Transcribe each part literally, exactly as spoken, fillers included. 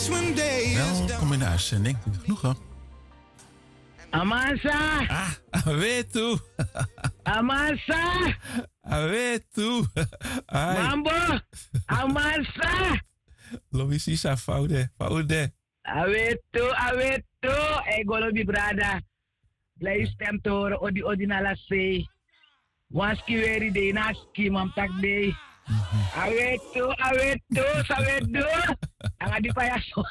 Welkom in de uitzending. Genoegen. Amansa. Ah, awetu. Amansa. Awetu. Ai. Mambo. Amansa. Lobisisa, fa un de, fa un de. Awetu, awetu. Ei, go lobi brada. Blij stem te horen, odi, odi na lasei. Wan ski weri dei na ski, man taki dei. Awetu, awetu, sawetu. Anga di faya so.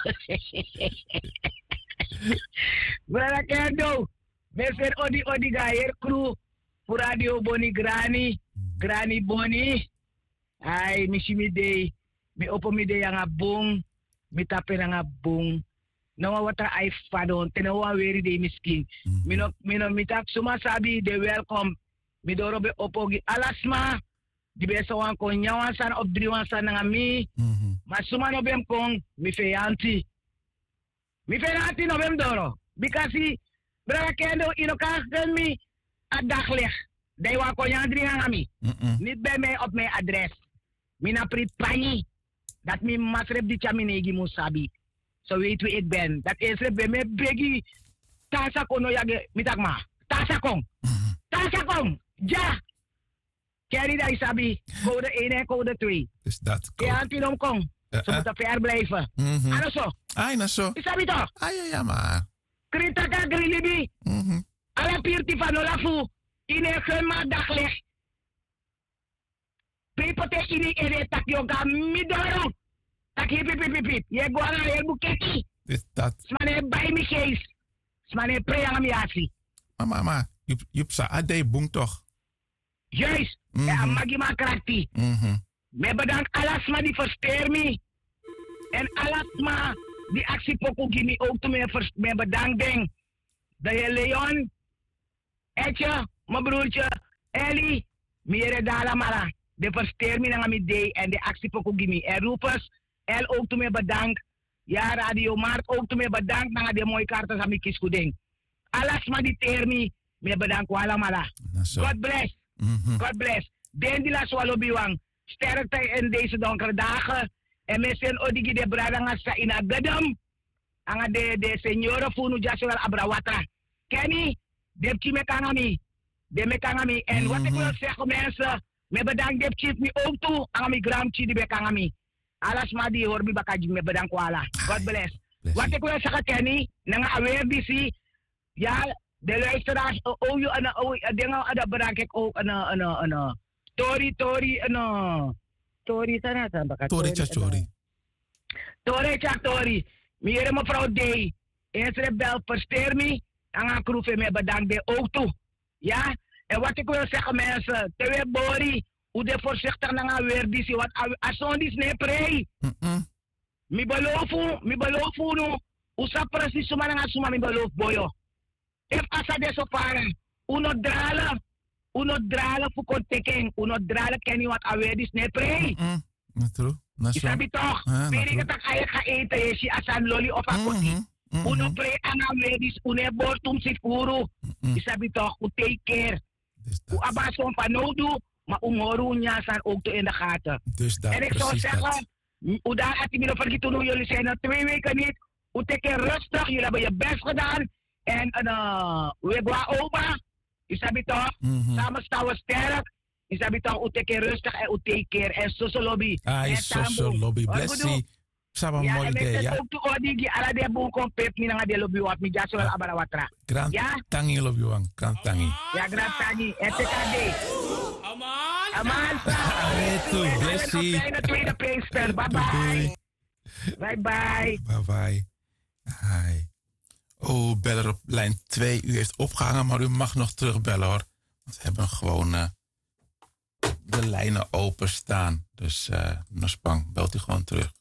Brada Kendo, mi e seri odi, odi gi a heri kru fu Radio Boni, Grani, Grani Boni. Ai, mi si mi dei, mi opo mi dei anga bun, mi tapu en anga bun. No wan watra ai fadon, te no wan weri dei mi skin. Mi no, mi no, mi taki suma sabi de welkom. Mi doro ben opo gi ala sma di ben e sa wani kon nyan wan sani of dringi wan sani nanga mi. Ma suma no ben kon, mi feyanti. Mi feyanti no ben mi doro. Bikasi, brada Kendo, yu no kan gi mi a daglicht. Dan yu wani kon nyan dringi nanga mi. Niet bij mij op mijn adres. Mi na pri panyi. Dati mi mama srefi di tyari mi neigi mu sabi. So weet wie ik ben. Dati en srefi ben mi e begi. Tan sa kon no yagi, mi taki ma. Tan sa kon. Tan sa kon. Dya. Kenny, dan yu sabi. Code één en code twee. Is dat code? Te anti no mu kon. So mu ta ver blijven. A no so. Ai, na so. Yu sabi toch? Ai, ai, ai, ma. Krin taki a grin libi. Ala pirti fa no lafu. Yu no e gi mi a daglicht. Pe yu poti en ini yu ede taki yu o go na mi doro. Taki hip, hip, hip, hip, hip. Yu e go nanga heri bukeki. Is dat? Sma no e bai mi geest. Sma no e prei nanga mi yasi. Ma, ma, ma, yu, yu psa a dei bun toch? Juist. En a magi man krakti. Mi e bedank ala sma di versteer mi. En ala sma di aksi poku gi mi ook tu mi e vers-, mi e bedank den. De heer Leon, Etje, mijn broertje, Eli, mi yere den alamala. Den versteer mi nanga mi dei en den aksi poku gi mi. En Rufus, El ook tu mi e bedank. Ya, Radio Markt ook tu mi e bedank nanga den moi karta san mi kisi fu den. Ala sma di teer mi, mi e bedank un alamala. Na so. God bless. God bless. Den di lasi wan lobiwan. Sterkte in deze donkere dagen. En mi e seni odi gi den brada nanga sisa ini a gedem. Nanga den, den seniore fu unu dyaso wel abra watra. Kenny, den pikin meki nanga mi. Den meki nanga mi. En wat ik wil zeggen, mensen, mi e bedank den pikin fu mi ook tu, nanga mi granpikin di meki nanga mi. Ala sma di hori mi baka gi mi bedank un ala. God bless. Wat ik wil zeggen, Kenny, nanga a weri disi, ya, de luisteraars, o, o, yu, ano, o, a dinga, ada bedank ik ook, ano, ano, ano. Tori, tori, ano. Tori, sana, sana, baka, tori, tori, tya, sana. Tori. Tori, tya, tori. Mi yere mevrouw Dei. Eens rebel, versteer mi. Nanga kru fu en, mi e bedank den ook tu. Ya, en wat ik wil zeggen, mensen, te we bori, un de voorzichtig nanga a weri disi, want a, a son disi no e prei. Mi beloof un, mi beloof unu, un sabi precies suma nanga suma mi beloof boyo. Efu a sa de so fara, un no drale, un no drale fu kon teki en, un no drale Kenny, want a weri disi no e prei. Na tru, na so. Yu sabi toch, pe yu kan taki a e ga ete, yu e si a sani loli of a koti. Un no prei nanga a weri disi, un no e bori tumsi furu. Yu sabi toch, un take care. Un abi a son fanowdu, ma un mus hori un nyan sani ook tu in de gaten. En ik zou zeggen, un dan ati mi no vergeten, unu, jullie zijn er twee weken niet. Un teki en rustig, jullie hebben je best gedaan. En, eh, we go a oba, yu sabi toch, samen staan we sterk. Yu sabi toch, un teki en rustig en un take care. En soso lobi. Ai, soso lobi. Blessi. Saba moli de, ya. Ook tu odi gi ala den bun kon pepi mi nanga den lobiwan, mi dyaso wel abra watra. Gran tangi lobiwan, gran tangi. Ya, gran tangi. En teki a dei. Aman. Aman. Awetu, blessi. Fijne tweede Pinkster. Bye bye. Bye bye. Bye bye. Hi. Oh, beller op lijn twee. U heeft opgehangen, maar u mag nog terugbellen, hoor. Want we hebben gewoon, eh, de lijnen openstaan. Dus, eh, no span, belt u gewoon terug.